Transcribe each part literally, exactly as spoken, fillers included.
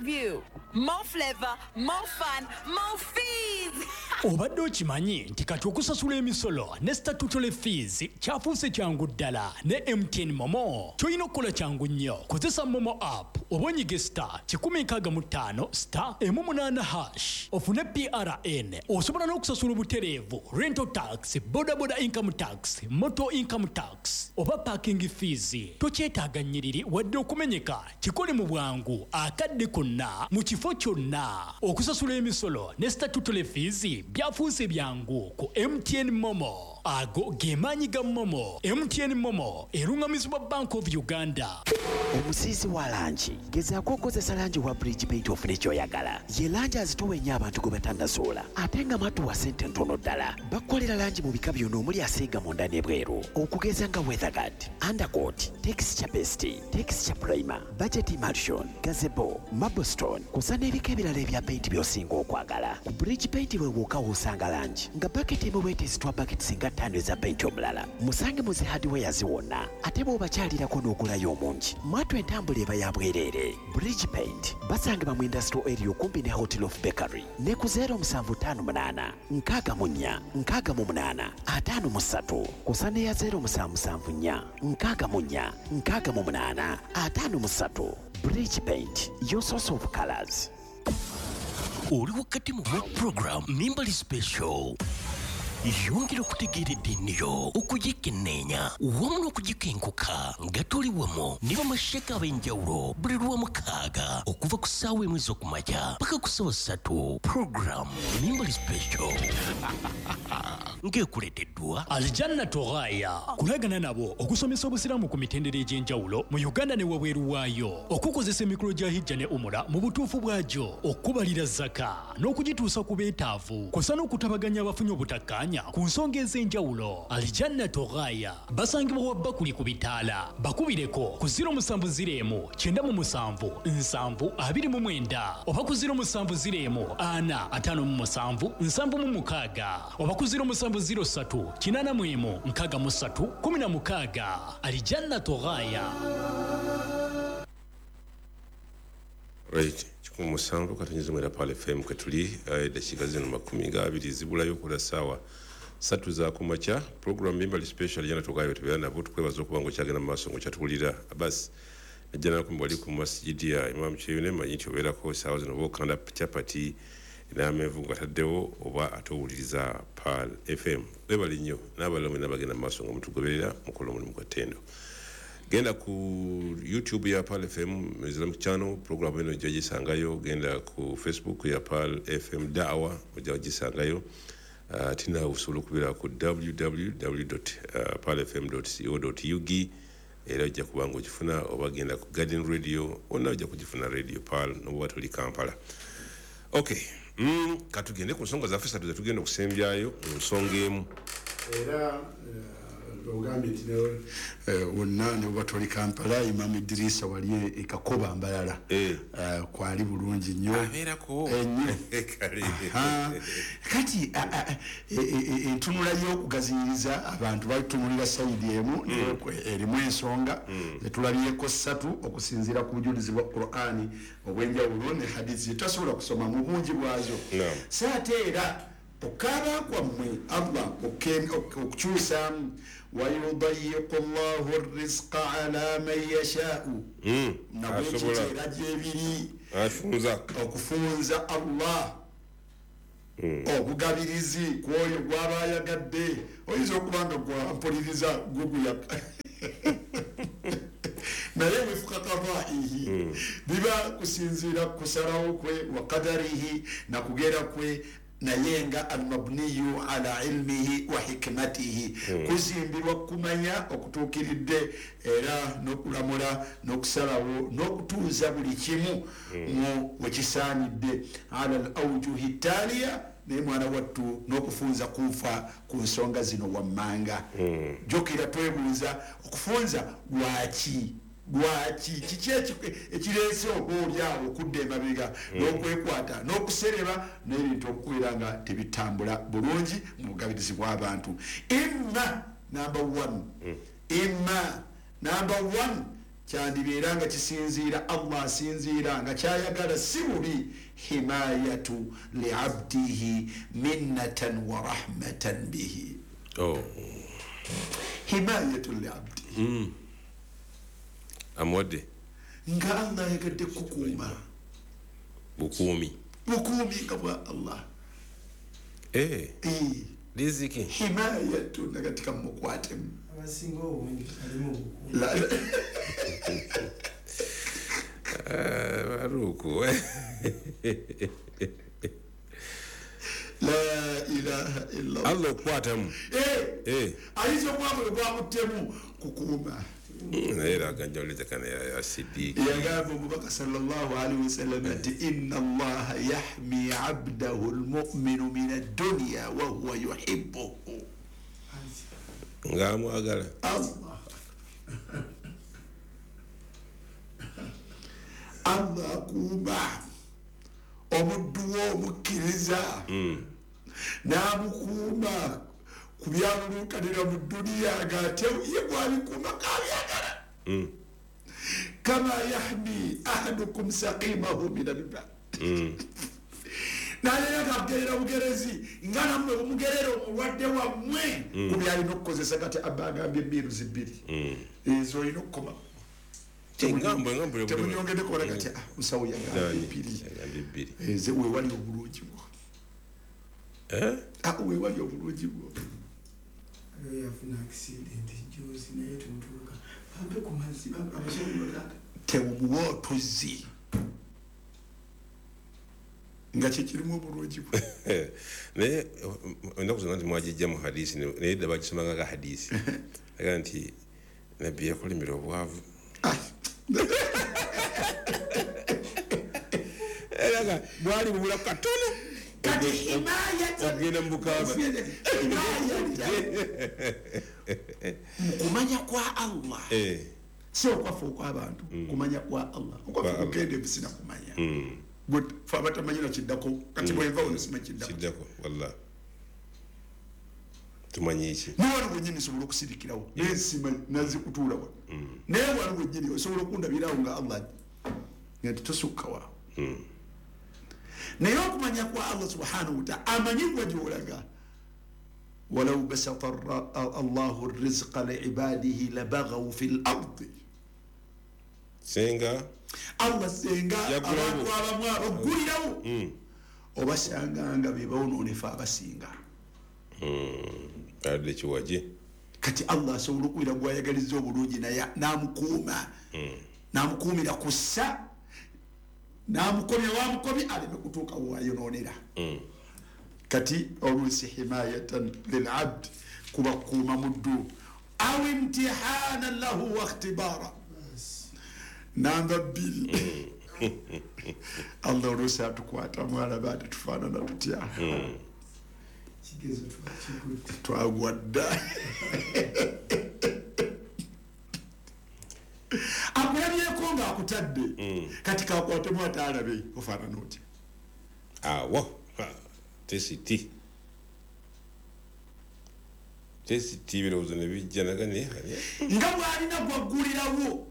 view. More flavor, more fun, more fees. Obadde okimanyi nti kati okusasula emisolo ne statutory fees kyafuuse kyangu ddala ne M T N MoMo? Kyolina okukola kyangu nnyo. Kozesa MoMo app oba onyige star kikumi nkaaga mu ttaano star emu munaana hash ofune P R N. Osobola n'okusasula obutereevu rental tax, bodaboda income tax, motor income tax oba parking fees. Tokyetaaga nnyiriri wadde okumenyeka. Kikole mu bwangu, akadde konna, mu kifo kyonna. Okusasula emisolo ne statutory fees byafuuse byangu ku M T N MoMo. Ago ge maanyi ga MoMo. M T N MoMo eruŋŋamizibwa Bank of Uganda. Omusiizi wa langi, gezaako okukozesa langi wa Bridge Paint ofune kyoyagala. Ye langi azitowa ennyo abantu gwe batannazuula, ate nga matuwa sente ntono ddala. Bakukolera langi mu bika byonna omuli asiiga munda n'ebweru, okugeza nga weatherguard, undercoat, texture paste, texture primer, budget emulsion, gazebo, marblestone, kusa n'ebika ebirala ebya paint by'osinga okwagala. Ku Bridge Paint bwe wokka w'osanga langi nga baketi emu bwetezitwa baketi singa ttaano eza paint omulala. Musange mu zi hardwares wonna, ate bw'obakyalirako n'ogulayo omungi, mwatu entambula eba ya bwereere. Bridge Paint basangibwa mu industrial area okumpi ne Hotel of Bakery ne ku zero musanvu ttaano munaana nkaaga mu nnya nkaaga mu munaana ataano mu ssatu kusa n'eya zero musanvu musanvu nnya nkaaga mu nnya nkaaga mu munaana ataano mu ssatu. Bridge Paint, your source of colors. Oli wakati mu program Mimbali Special. Yongera okutegeera eddiini yo, okugikenneenya wamu n'okugikenkuka nga tuli wamu ne bamasheka ab'enjawulo buli Lwamukaaga okuva ku ssaawa emu ez'okumakya paka ku ssaawa ssatu. Program Mimbali Special ng'ekuleeteddwa Aljanna Toghaya. Kulagana nabo okusomesa obusiraamu ku mitendera egy'enjawulo mu Uganda ne wabweru waayo, okukozesa emikolo gya hijja ne umura mu butuufu bwagyo, okubalira zaka n'okugituusa ku beetaavu, kw'ossa n'okutabaganya abafunye obutakkaanya ku nsonga ez'enjawulo. Aljanna Toghaya basangibwa wa Bakuli ku bitaala. Bakubireko ku zero musanvu zero kyenda mu musanvu nsanvu abiri mu mwenda oba ku zero musanvu zero ana ataano mu musanvu nsanvu mu mukaaga oba ku zero musanvu zero ssatu kinaana mu emu nkaaga mu ssatu kumi na mukaaga. Aljanna Toghaya. Right, kikumi musanvu katonyeza mwenda Pearl F M kwe tuli. eh, eddakiika zino makumi ga abiri zibulayo okukola ssaawa satu za kumakya. Program Mimbali Special, jana tugayo tubeera nabo. Tukwebaza okuba nga okyagenda mu maaso nga okyatuwulira. Abasi najja nakumbi wali ku masijidi ya Imam Kyeyune, manyi nti obeerako essaawa zino oba okanda chapati n'amenvu nga taddewo oba ate owuliriza Pearl F M. Webale nnyo n'abalala mwena bagenda mu maaso nga mutugoberera, mukola omulimu gwa ttendo. Genda ku YouTube ya Pearl F M Islamic Channel, program eno ojja gisangayo. Genda ku Facebook ya Pearl F M Dawa, ojja gisangayo. uh, tina osobola okubeera ku W W W pearl F M co ug, era ojja kuba nga ogifuna, oba genda ku Garden Radio, wonna ojja kugifuna Radio Pearl nobuba toli Kampala. Okay, mm, katugende ku nsonga zaffe satu zetugenda okusembyayo mu nsonga emu. Era eh, ogambye nti ne- eh, wonna ne bwe toli Kampala, Imamu Idirisa wali ekakoba Mbalala. Eh. Eh, kwali bulungi nnyo. Abeerako. Ennyo. Kale. Aha. Kati a- a- e- e- e- entunula y'okugaziyiriza abantu batunulira side emu, naye erimu ensonga zetulabyeko ssatu okusinziira ku bujulizi bwa Qurani obwenjawulo ne hadisi zetasobola kusoma mu bungi bwazo. Naam. So ate era okukaaba kwammwe Allah okke- ok- okukyusaamu, wayudayiqu llahu rizqa ala man yashaau. Mm, nabwekityo asobola. Era gyebiri afunza. Okufunza Allah obugabirizi kwoyo gwaba ayagadde. Oyinza okuba nga gwampuliriza guguya, naye wifuka kadaihi, biba kusinziira kusalawo kwe, wa qadarihi, nakugera kwe, naye nga almabniyu ala ilmihi wa hikmatihi, kuzimbirwa kumanya okutuukiridde era n'okulamula n'okusalawo n'okutuuza buli kimu mu wekisaanidde ala al aujuhi taaliya. Naye mwana wattu, n'okufunza kufa ku nsonga zino wammanga. Jjukira twebuuza okufunza lwaki? Lwaki? Kiki eki- ekireese oba oliawo okudda emabega n'okwekwata n'okusereba n'ebintu okubeera nga tebitambula bulungi mu bugabirizi bw'abantu? Imma number one, imma number one, Kyandibeera nga kisinziira Allah asinziira nga kyayagala si bubi himayatu liabdihi minnatan wa rahmatan bihi. Oh. Himayatu liabdihi. Mm. Amuwadde nga Allah ayagadde kukuuma bukuumi bukuumi nga bwa Allah. Eh. Eh. Riziki himayatu nagatika mukwatemu abasinga obungi alimu bukuumi. Baruku. La ilaha illa Allah okukwatamu. Eh. Eh. Ayinza okuba bwamutemu kukuuma. Naye era aganjawuliza kana ya Siddiq. Yagamba omubaka sallallahu alaihi wasallam nti inna Allaha yahmi abdahu almu'minu min ad-dunya wa huwa yuhibbuhu. Ng'amwagala. Allah. Allah akuuma omuddu we omukkiriza n'amukuuma ku byaluluukanira mu dduniya ng'ate ye bw'abikuuma k'abyagala. Kama yahmi ahadukum saqimahu min alma. Naye kagerera bugerezi nga nammwe bumugerera omulwadde wammwe ku byalina okukozesa kati abba agambye emmiruzi bbiri ezo olina okukoma. Temunyongedde kola kati musawo yagambye bbiri eze weewali obulungi bwo. Weewali obulungi bwo. Yafuna accident juzi naye tumutuuka bampe ku mazzi abasobola tewumuwa otuzzi nga kyekirimu obulungi bwe. Naye ennaku zonna nti mwagijja mu hadisi naye edda bagisomanga nga hadisi aga nti nabbi yakolimira obwavu. Era bwali bubula katono kati himayatan ogenda mu bukaafu mu kumanya kwa Allah. Si okwaffe okw'abantu, kumanya kwa Allah okwaffe kugenda ebisina kumanya gwe fe abatamanyi nakiddako kati bwenva wano simanyi kiddako kiddako wallah tumanyi ki naye wano wennyini nsobola okusirikirawo naye simanyi nazikutuula wano naye wano wennyini osobola okundabirawo nga Allah nga tosukka waawo. Naye okumanya kwa Allah subhanahu wa ta'ala amanyi gwe gy'olaga. Walau basata Allahu rizqa liibadihi labaghaw fil ardi. Senga Allah senga abantu abamu abaggulirawo obasanga nga be bawonoonefu abasinga. Adde kiwaje kati Allah asobola okuwira gw'ayagaliza obulungi naye n'amukuuma n'amukuumira ku ssa n'amukomya wamukomya aleme kutuuka wayonoonera. Kati oluusi himayatan lilabd kuba kukuuma muddu aw imtihanan lahu wa ikhtibara. Namba bbiri Allah oluusi atukwatamu alaba ate tufaanana tutya. Twagwa dda. Akulabyeko ng'akutadde kati kakwatemu ate alabe ofaanana otya. Awo tesiti tesiti ebirowoozo ne bijja naga nga bw'alina gwaggulirawo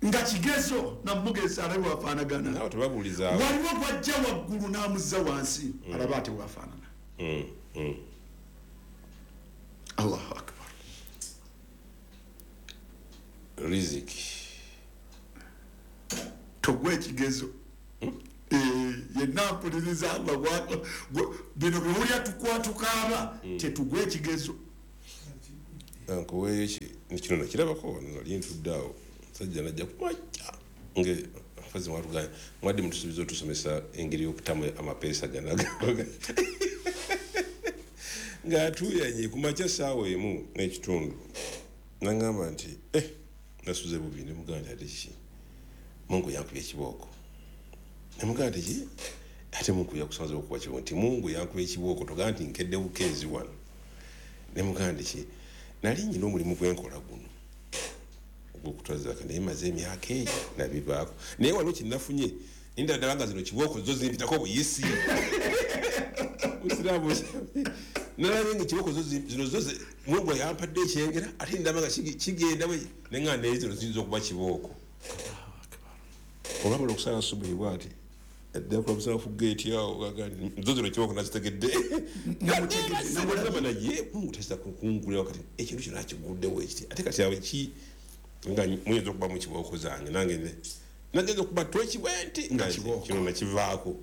nga kigezo namugeza alabe wafaanagana. Waliwo gwajja waggulu n'amuzza wansi alaba ate wafaanana. Allahu akbar. Riziki togwa ekigezo yenna mpuliriza Allah bino biwulya tukwatukaaba tetugwa ekigezo. Nkuweeyo kino nakirabako nali ntudde awo musajja najja kumajja nge fazi mwatugambye mwadde mutusuubiza otusomesa engeri y'okutamu amapeesa gano ng'atuuyanye ku makya ssaawa emu n'ekitundu n'aŋŋamba nti eh nasuze bubi ne mugamba nti ate kiki Mungu yankubye ekibooko ne mugamba nti ki ate Mungu yakusanze okukuba kibooko nti Mungu yankubye ekibooko togamba nti nkedde bukeezi wano ne mugamba nti ki nali nnyina omulimu gwe nkola guno ogw'okutwazaka naye maze emyaka egyo nabivaako naye waliwo kye nafunye ninda ddala nga zino kibooko zo zimpitako buyisi musiraamu Nalabye nga ekiboko zino zo Mungu yampadde ekyengera ate ndaba nga kigenda bwe ne nga naye zino ziyinza okuba kibooko. Olwamala okusala subuhi bw'ati adda kulamusala ku geeti awo nzo zino kibooko nazitegedde. Namulaba naye Mungu tayinza kungulira kati ekintu kino akiguddewo ekiti ate kati awo ki nga muyinza okuba mu kibooko zange nange nagenza okuba toki bwe nti nga kino nakivaako.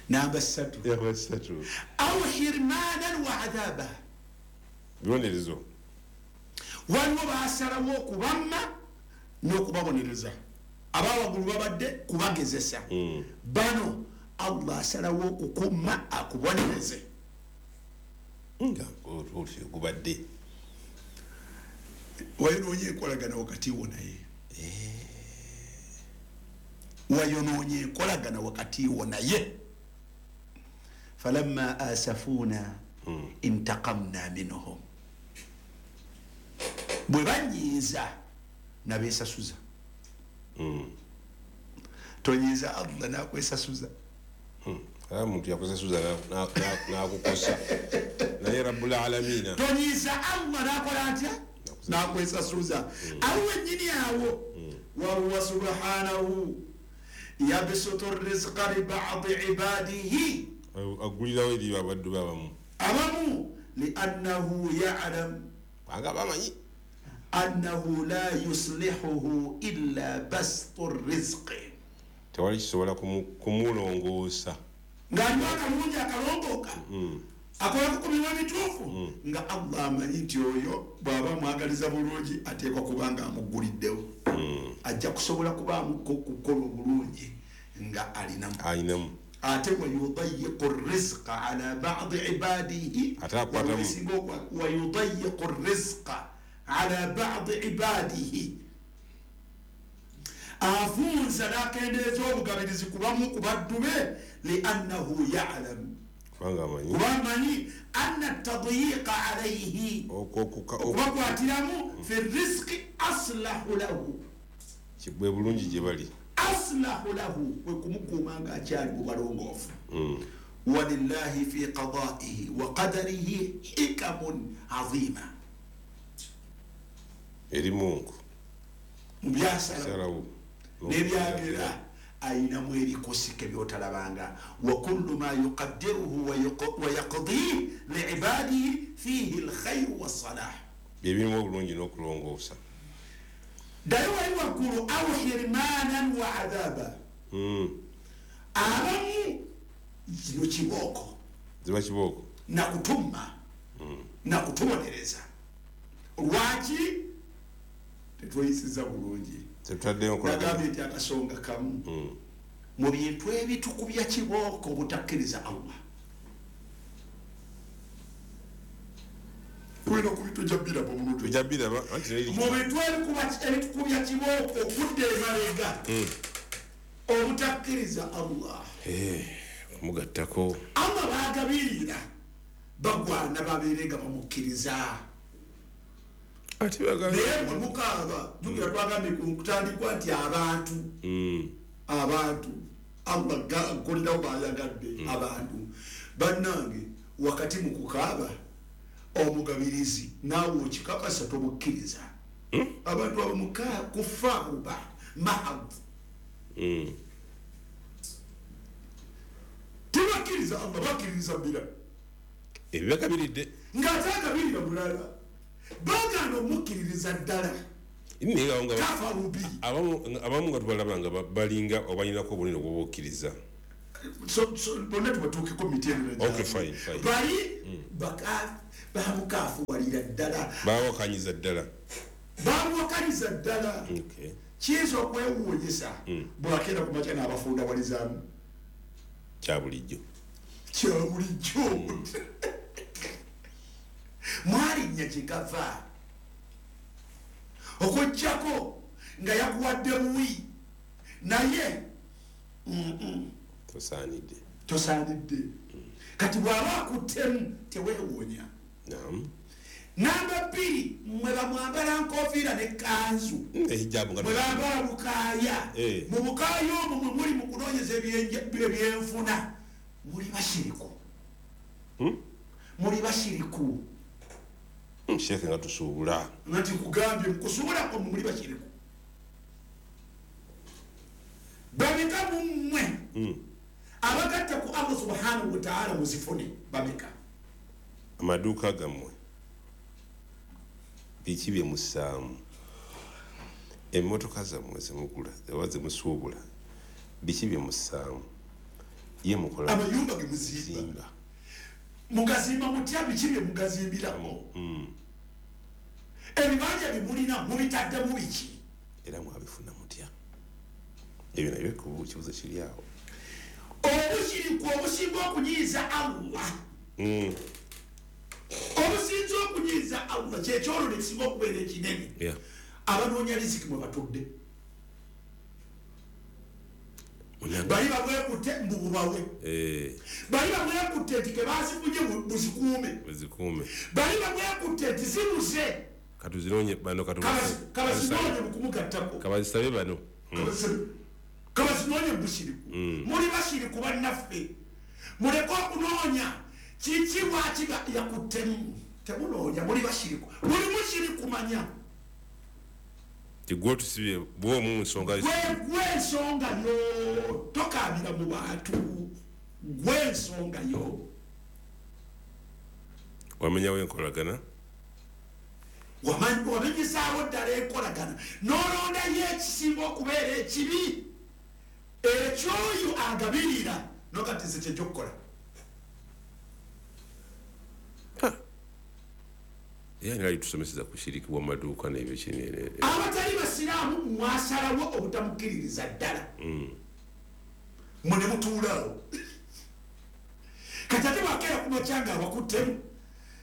Namba ssatu au hirmanan wa adhaba, bibonerezo. Waliwo basalawo okubamma n'okubabonereza. Abawaggulu babadde kubagezesa, bano Allah asalawo okukumma akubonereze nga gubadde wayonoonye enkolagana wakati wo naye, wayonoonye enkolagana wakati wo naye. Falamma asafuna intaqamna minhum, bwe banyiiza nabeesasuza. Tonyiiza Allah nakwesasuza. Omuntu yakwesasuza nakukosa naye Rabbul Alamina. Tonyiiza Allah nakola atya? Nakwesasuza. Awo wennyini awo wahuwa subhanahu yabsutu rizqa li ba'di ibadihi, agulirawo eri abaddu be abamu abamu liannahu ya'lam, kubanga bamanyi annahu la yuslihuhu illa bastu rizqi, tewali kisobola kumulongoosa ng'aliwo akalungi akalongooka akola kukumirwa bituufu, nga Allah amanyi nti oyo bw'aba amwagaliza bulungi ateekwa kuba nga amuguliddewo, ajja kusobola kubaamu kukola obulungi nga alinamu. Ate wayudayiqu rizqa ala badi ibadihi, wayudayiqu rizqa ala badi ibadihi, afunza n'akendeeza obugabirizi kubamu ku baddu be, liannahu yalam, kuba amanyi anna tadyiqa alayhi, okubakwatiramu fi rizqi aslahu lahu, bwe bulungi gye bali, aslahu lahu, kwe kumukuuma ng'akyali mu balongoofu. Walillahi fi qadaihi wa qadarihi hikamun azima, eri Mungu mu byasalawo n'ebyagera ayinamu ebikosike by'otalabanga. Wa kullu ma yuqaddiruhu wa yaqdihi liibadihi fihi alkhairu wassalah, byebirimu obulungi n'okulongoosa. Ddayo wali waggulu au hirmanan wa adhaba, abamu kino kibooko ziba kibooko nakutumma nakutubonereza. Lwaki tetweyisiza bulungi? Nagambye nti akasonga kamu mu bintu ebitukubya kibooko obutakkiriza Allah. Tulina okubitujja biraba omuntu mu bintu ebitukubya kibooko okudda emabega obutakkiriza Allah kumugattako. Allah baagabirira bagwana babeere nga bamukkiriza. Naye bwe mukaaba jjukira twagambye ku kutandikwa nti abantu abantu Allah akolerawo bayagadde abantu bannange. Wakati mu kukaaba omugabirizi naawe okikakasa tomukkiriza. Abantu abamu kufaaruba mahad tebakkiriza Allah, bakkiririza bira ebibagabiridde ng'ate agabirira bulala, bagaana omukkiririza ddala. Kafarubi abamu nga tubalaba nga balinga obalinako obunene obwobukkiriza bonna tubatuukeko mitendera bali bamukafuwalira ddala, bawakanyiza ddala, bamuwakanyiza ddala. Kiyinza okwewuunyisa bwakeera ku makya n'abafundawalizaamu. Kya bulijjo, kya bulijjo. Mwalinnya kyekava okuggyako nga yakuwadde buwi naye tosaanidde, tosaanidde. Kati bw'aba akuttemu teweewuunya. Namba bbiri, mmwe bamwambala nkofiira ne kanzu, mwe bambala bukaaya. Mu bukaaya omwo mwe muli mu kunoonyeza ebyenfuna, Muli bashiriku. Hmm? Muli bashiriku. Sheikh nga tusuubula. Ngati kugambye mukusuubula ko muli bashiriku. Bameka mumwe. Mm. Abagatta ku Allah subhanahu wa ta'ala muzifune bameka. Amaduka gammwe. Biki bye musaamu. Emmotoka zammwe zemugula, oba zemusuubula. Biki bye musaamu. Ye mukola. Amayumba ge muzimba. Mugazimba mutya biki bye mugazimbirako. Mm. Ebibanja bimulina mubitaddemu biki. Era mwabifuna mutya. Ebyo nabyo kibuuzo kiri awo. Obushiriku obusinga okunyiiza Allah. Mm. Obusinga okunyiiza Allah kyekyolwo ekisinga okubeera ekinene. Yeah. Abanoonya riziki mwe batudde. Bali babwekutte mbu bubawe. Eh. Bali babwekutte nti kebazifunye buzikuume. Buzikuume. Bali babwekutte nti zibuze. Katuzironye bano kabazinoonye mukumugattako. Kabazisabe bano. Mm. Kabazinoonya bushiriku. Mm. Muli bashiriku bannaffe. Muleke okunoonya kiki lwaki yakuttemu. Temunoonya muli bashiriku. Muli mushiriku manya. Tigwe tusibye bw'omu nsonga. Gwe ensonga yo tokaabira mu bantu. Gwe ensonga yo. Wamenyawo enkolagana? Wamenyisaawo ddala enkolagana. N'olondayo ekisinga okubeera ekibi. Ekyoyo agabirira nokati nze kyekyokukola. Yani ali tusomeseza kushiriki wa maduuka n'ebyo kinene. Abatali basiraamu mwasalawo obutamukkiririza ddala. Mm. Mwe mutuulaawo. Kati ate bwakeera ku makya nga abakuttemu.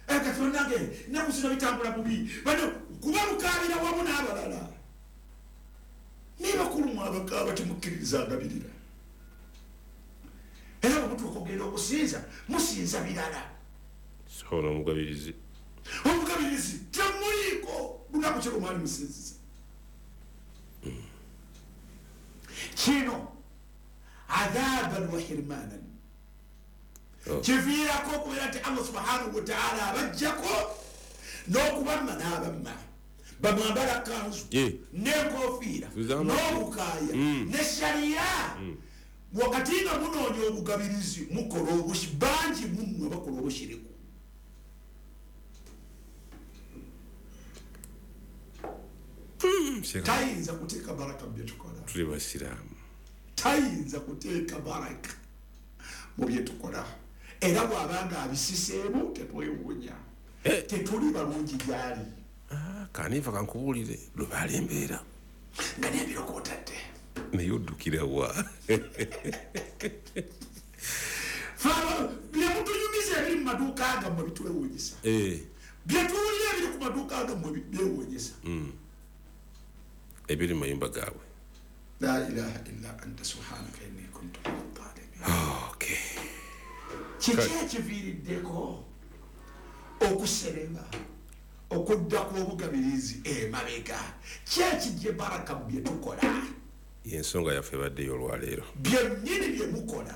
Kati bannange ennaku zino bitambula bubi. Bano kuba mukaabira wamu n'abalala. Naye bakulu mwe abakaaba temukkiririza agabirira. Era bwe mutuuka okugenda okusinza, musinza birala. So n'omugabirizi. Omugabirizi temuliiko lunaku ki lwe mwali musinziza. Kino adhaban wa hirmanan. Kiviirako okubeera nti Allah subhanahu wa ta'ala abajjako n'okubamma n'abamma. Bamwambala kanzu n'enkofiira n'obukaaya ne shariya. Wakati nga munoonya obugabirizi mukola obushi bangi mummwe bakola obushiriku. Tayinza kuteeka baraka mu bye tukola. Tuli basiraamu. Tayinza kuteeka baraka mu bye tukola. Era bw'abanga abisiseemu tetwewuunya. Tetuli balungi gy'ali. Kaniva kankubuulire lubaala embeera. Nga n'ebiroko otadde. Naye oddukira wa? Bye mutunyumiza ebiri mu maduuka gammwe bitwewuunyisa. Bye tuwulira ebiri ku maduuka gammwe byewuunyisa. Ebiri mu mayumba gaabwe. La ilaha illa anta subhanaka inni kuntu minadh dhalimin. Okay. Kiki ekiviiriddeko okusereba okudda kw'obugabirizi emabega? Ki ekijja baraka mu bye tukola? Y'ensonga yaffe ebaddeyo olwaleero. Byennyini bye mukola.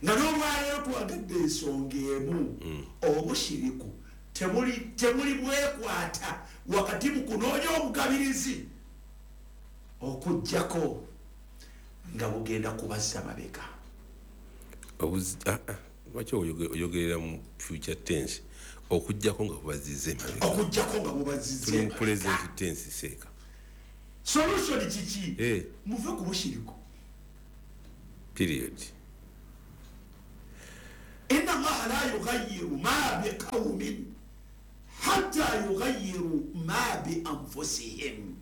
Nga n'olwaleero twagadde ensonga emu, obushiriku temuli temuli bwekwata wakati mu kunoonya obugabirizi okuggyako nga bugenda kubazza mabega. Lwaki oyogerera mu future tense okuggyako nga bubazizza emabega? Okuggyako nga bubazizza tuli mu present tense seeka. Solution kiki? Muve ku bushiriku. Period. Inna Allaha la yughayyiru ma biqawmin hatta yughayyiru ma bi anfusihim.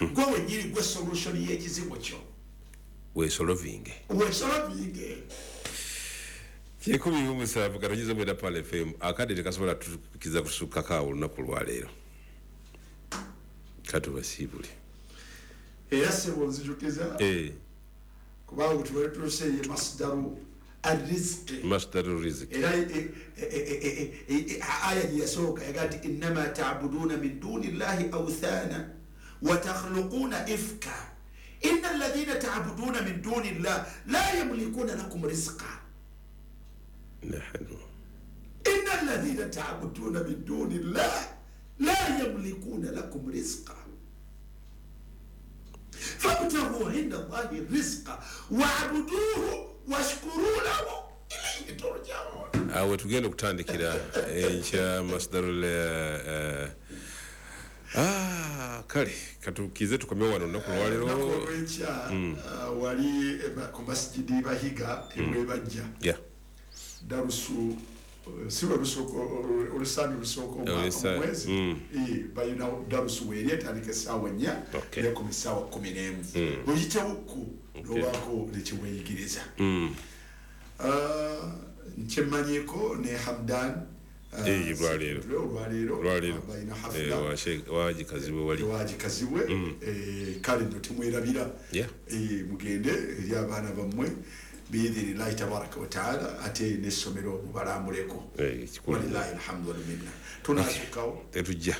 Gwe wennyini gwe solution y'ekizibu kyo. Weesolovinge. Weesolovinge. Kikumi mu musanvu katonyiza mwenda Pearl F M akadde tekasobola tukiza kusukkako awo olunaku lwaleero. Katubasiibule. Era ssebo nzijukiza kubanga tubadde tuuse ye masdaru arrizqi. Masdaru rizqi. Era aya gye yasooka yaga nti innama ta'buduuna min duni llahi awthana wa takhluquuna ifka Inna alladhina ta'buduna min duni llah la yamlikuna lakum rizqa. Nahnu inna alladhina ta'buduna min duni llah la yamlikuna lakum rizqa fabtaghu inda Allahi rizqa wa'buduhu washkuru lahu ilayhi turja'un. Awe tugenda okutandikira enkya masdarul ah kale katukize tukomye wano olunaku lwaleero olwenkya wali ku masjidi Bahiga ebwebajja yeah darusu si lusooka olusani lusooka omwezi balina darusu weeri etandika essaawa nnya nekoma essaawa kkumi n'emu oyitewukku n'obaako nekiweeyigiriza. Nkyemmanyiiko ne Hamdan olwaleero balina hafula wagikazibwe kale nno temwerabira mugende eri abaana bammwe biidhinillahi tabaraka wataala ate n'essomero mubalambuleko. Walillahi alhamdu walminna. Tunasukkawo tetujja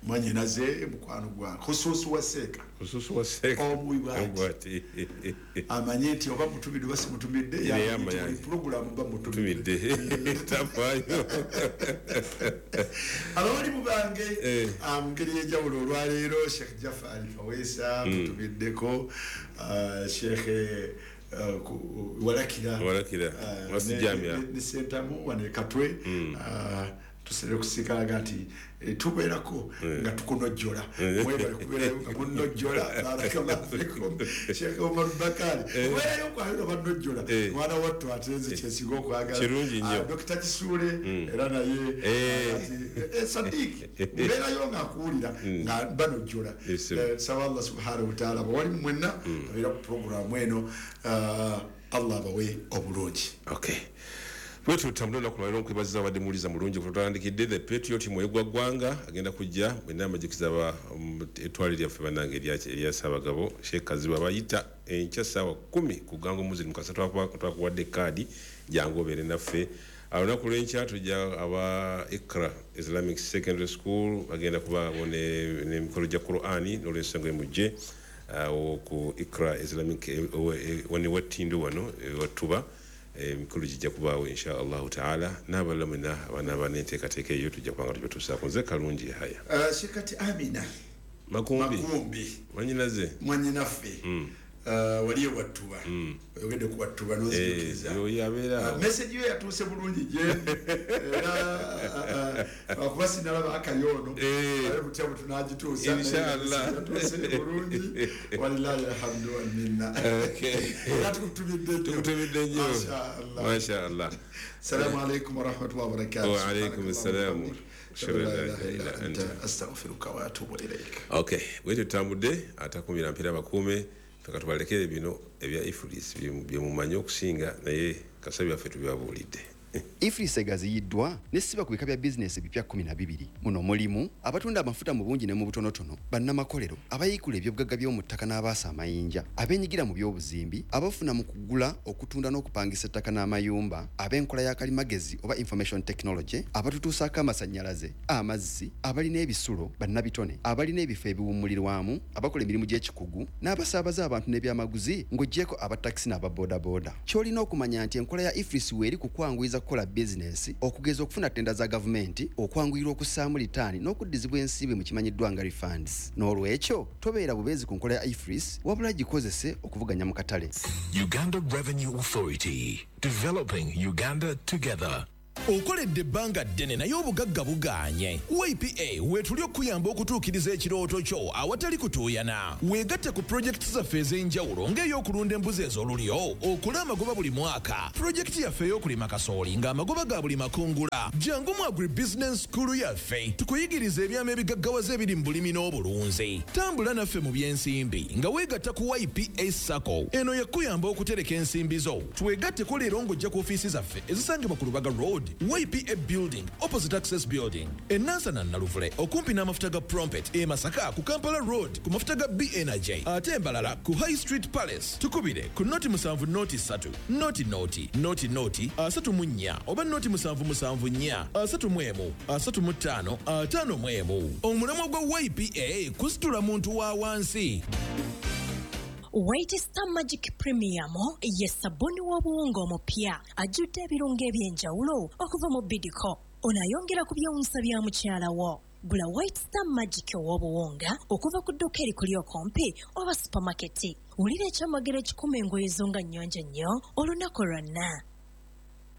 mwanyinaze mukwano gwange khusuusi wa seeka khusuusi wa seeka omubwati amanye nti oba mutumidde oba simutumidde buli pulogulaamu mba mutumidde tafaayo. Abawalimu bange mu ngeri y'enjawulo olwaleero Sheikh Jafari Kaweesa mutumiddeko, Sheikh Walakira Walakira ne Sentamu wane Katwe tusere kusikalaga nti tubeerako nga tukunojjola mwebale kubeerayo nga munojjola barakallahu fikum. Sheikh Omar Bakari kubeerayo kwaliro banojjola mwana wattu ate nze kyensinga okwagala. Dokita Kisuule era naye Sadiq mbeerayo nga akuwulira nga banojjola. Nsaba Allah subhanahu wataala bawalimu mwenna abeera ku puroguramu eno Allah abawe obulungi. Okay. Bwetu tutambule olunaku lwaleero nkwebaziza abadde muwuliza mulungi kututandikidde the Patriot mwoyo gwa ggwanga agenda kujja mwenna amajukiza aba ettwale lyaffe bannange erya Ssaabagabo Sheikh Kazibu abayita enkya ssaawa kkumi ku Gango Muslim Kasa twakuwadde kaadi jangu obeere naffe. Olunaku lw'enkya tujja aba Ikra Islamic Secondary School bagenda kubaabo n'emikolo gya Qur'ani n'olwensonga emujje ku Ikra Islamic wano Wattindo wano Wattuba emikolo gijja kubaawo insha Allahu taala n'abalala mwenna abanaaba n'enteekateeka eyo tujja kubanga tubatuusaako. Nze Kalungi Yahaya. Shekati Amina Makumbi Makumbi mwanyinaze mwanyinaffe waliyo Wattuba oyogedde ku Wattuba n'ozijukiza meseji yo yatuuse bulungi gyendi era akuba sinalaba akayoono ale butya bwe tunagituusa yatuuse bulungi walillahi alhamdu walminna. Era tukutumidde nnyo tukutumidde nnyo masha Allah. Assalamu alaikum warahmatullahi wabarakatuh. Wa alaikum assalam. Astaghfiruka wa atubu ilaik. Okay, bwe tutambudde atakumira mpira bakuume katubalekere bino ebya Ifris bye mumanyi okusinga naye kasabi byaffe tubibabuulidde. Ifris egaziyiddwa nesiba ku bika bya bizinesi ebipya kkumi na bibiri. Muno mulimu abatunda amafuta mu bungi ne mu butonotono, bannamakolero, abayiikula ebyobugagga by'omu ttaka n'abaasa amayinja, abeenyigira mu by'obuzimbi, abafuna mu kugula, okutunda n'okupangisa ettaka n'amayumba, ab'enkola ya kalimagezi oba information technology, abatutuusaako amasannyalaze, amazzi, abalina ebisulo, bannabitone, abalina ebifo ebiwummulirwamu, abakola emirimu gy'ekikugu, n'abasaabaza abantu n'ebyamaguzi ng'oggyeko abatakisi n'ababoodabooda. Ky'olina okumanya nti enkola ya Ifris weeri ku kwanguyiza kukola bizinesi, okugeza okufuna tenda za gavumenti, okwanguyirwa okussaamu litaani n'okuddizibwa ensimbi mu kimanyiddwa nga refunds. N'olwekyo tobeera bubeezi ku nkola ya Ifris wabula gikozese okuvuganya mu katale. Uganda Revenue Authority, developing Uganda together. Okoledde ebbanga ddene naye obugagga bugaanye. Y P A weetuli okuyamba okutuukiriza ekirooto kyo awatali kutuuyana. Weegatte ku pulojekiti zaffe ez'enjawulo ng'ey'okulunda embuzi ez'olulyo, okola amagoba buli mwaka, pulojekiti yaffe ey'okulima kasooli ng'amagoba ga buli makungula. Jangu mu agribusiness school yaffe tukuyigirize ebyama ebigaggawaza ebiri mu bulimi n'obulunzi. Tambula naffe mu by'ensimbi nga weegatta ku Y P A SACCO. Eno yakuyamba okutereka ensimbi zo. Twegatteko leero ng'ojja ku ofiisi zaffe ezisangibwa ku Lubaga Road, Y P A Building, opposite Access Building, e Nansana Naluvule, okumpi n'amafuta ga Prompet, e Masaka ku Kampala Road, ku mafuta ga B Energy, ate Mbalala ku High Street Palace. Tukubire ku noti musanvu noti ssatu, noti noti, noti noti, asatu mu nnya, oba noti musanvu musanvu nnya, asatu mu emu, asatu mu ttaano, ataano mu emu. Omulamwa gwa Y P A kusitula muntu wa wansi. White Star Magic Premium ye sabbuuni w'obuwunga omupya ajjudde ebirungo eby'enjawulo okuva mu Bidco. Ono ayongera ku byewuunyisa bya mukyala wo. Gula White Star Magic ow'obuwunga okuva ku dduuka erikuli okumpi oba supamaketi. Wulira ekyamagero ekikuma engoye zo nga nnyonjo nnyo olunaku lwonna.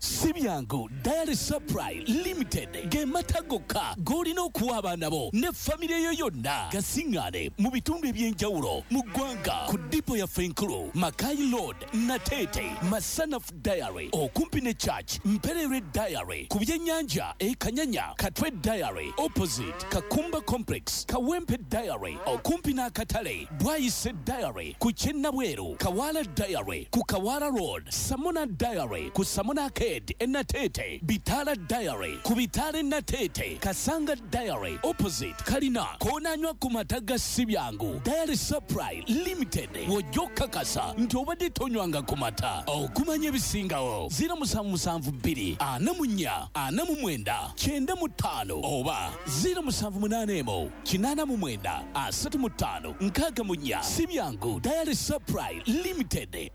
Si byangu Dairy Supply Limited ge mata gokka g'olina okuwa abaana bo ne famire yo yonna. Gasiŋŋaane mu bitundu eby'enjawulo mu ggwanga ku dipo yaffe enkulu Makai Road, Nateete, Masanaf Dairy okumpi ne Church, Mperere Dairy ku byennyanja e Kanyanya, Katwe Dairy opposite Kakumba Complex, Kawempe Dairy okumpi n'akatale, Bwayise Dairy ku Kyennabweru, Kawala Dairy ku Kawala Road, Samona Dairy ku Samona Arcade Enatete, Bitala Dairy ku Bitala Nateete, Kasanga Dairy opposite Kalina, koonanywa ku mata ga si byangu Dairy Supply Limited w'ojja okukakasa nti obadde tonywanga ku mata. Okumanya ebisingawo ziro musanvu musanvu bbiri ana mu nnya ana mu mwenda kyenda mu ttaano oba ziro musanvu munaana emu kinaana mu mwenda asatu mu ttaano nkaaga mu nnya. Si byangu Dairy Supply Limited.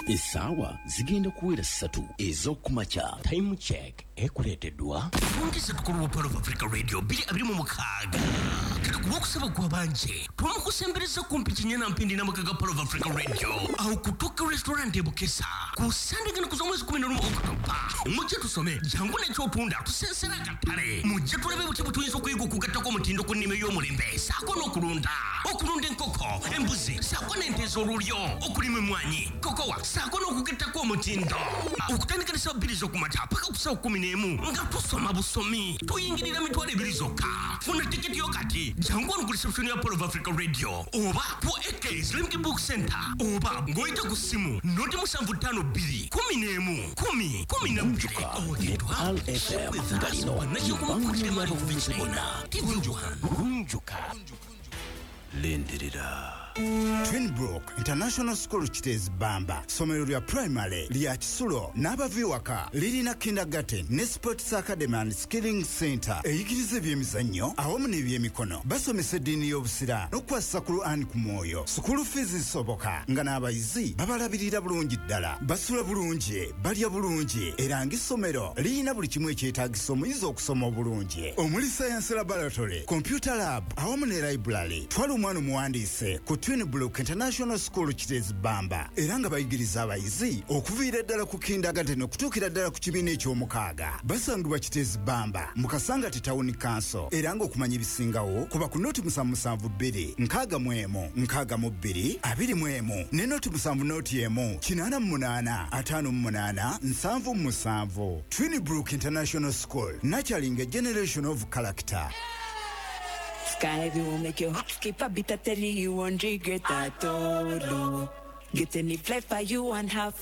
Essaawa zigenda kuwera ssatu ez'okumakya. Time check ekuleeteddwa Bungisa tukulu wa Pearl of Africa Radio bbiri abiri mu mukaaga. Kati ku lwokusaba gw'abanje twamukusembereza kumpi Kinyana Mpindi n'amaka ga Pearl of Africa Radio awo ku Tuka Restaurant e Bukesa ku Sande gano ku z'omwezi kumi n'olumu Okutoba. Mujje tusome jangu n'ekyotunda tusensera akatale. Mujje tulabe butya bwe tuyinza okuyiga okugattako omutindo ku nnima ey'omulembe ssaako n'okulunda okulunda enkoko, embuzi ssaako n'ente ez'olulyo, okulima emmwanyi, kokowa ssaako n'okugattako omutindo. Okutandika ne ssaawa bbiri z'okumakya paka ku ssaawa kkumi n'emu nga tusoma busomi tuyingirira mitwalo ebiri zokka. Funa tiketi yo kati jangu wano ku reception ya Pearl of Africa Radio oba ku A K Islamic Book Center oba ng'oyita ku ssimu noti musanvu ttaano bbiri kumi n'emu kumi kumi na bbiri. Ne Pearl F M nga lino lye ly'abavubuka bonna. Gunjuka. Lindirira. Twinbrook International School Kiteezi Bamba, ssomero lya primary lya kisulo n'abava ewaka, lirina kindergarten ne sports academy and skilling center eyigiriza ebyemizannyo awamu n'ebyemikono. Basomesa eddiini y'obusiraamu n'okukwasisa Quran ku mwoyo. Sukulu fees zisoboka nga n'abayizi babalabirira bulungi ddala, basula bulungi, balya bulungi, era ng'essomero lirina buli kimu ekyetaagisa omuyizi okusoma obulungi omuli science laboratory, computer lab awamu ne library. Twala omwana omuwandiise ku Twinbrook International School Kiteezi Bamba era nga bayigiriza abayizi okuviira ddala ku kindergarten okutuukira ddala ku kibiina eky'omukaaga. Basangibwa Kiteezi Bamba mu Kasangati Town Council era ng'okumanya ebisingawo kuba ku noti musanvu musanvu bbiri nkaaga mu emu nkaaga mu bbiri abiri mu emu ne noti musanvu noti emu kinaana mu munaana ataano mu munaana nsanvu mu musanvu. Twinbrook International School, nurturing a generation of character. Sky will make your heart skip a bit, I tell you, you won't regret at all. Get any flavor you want, have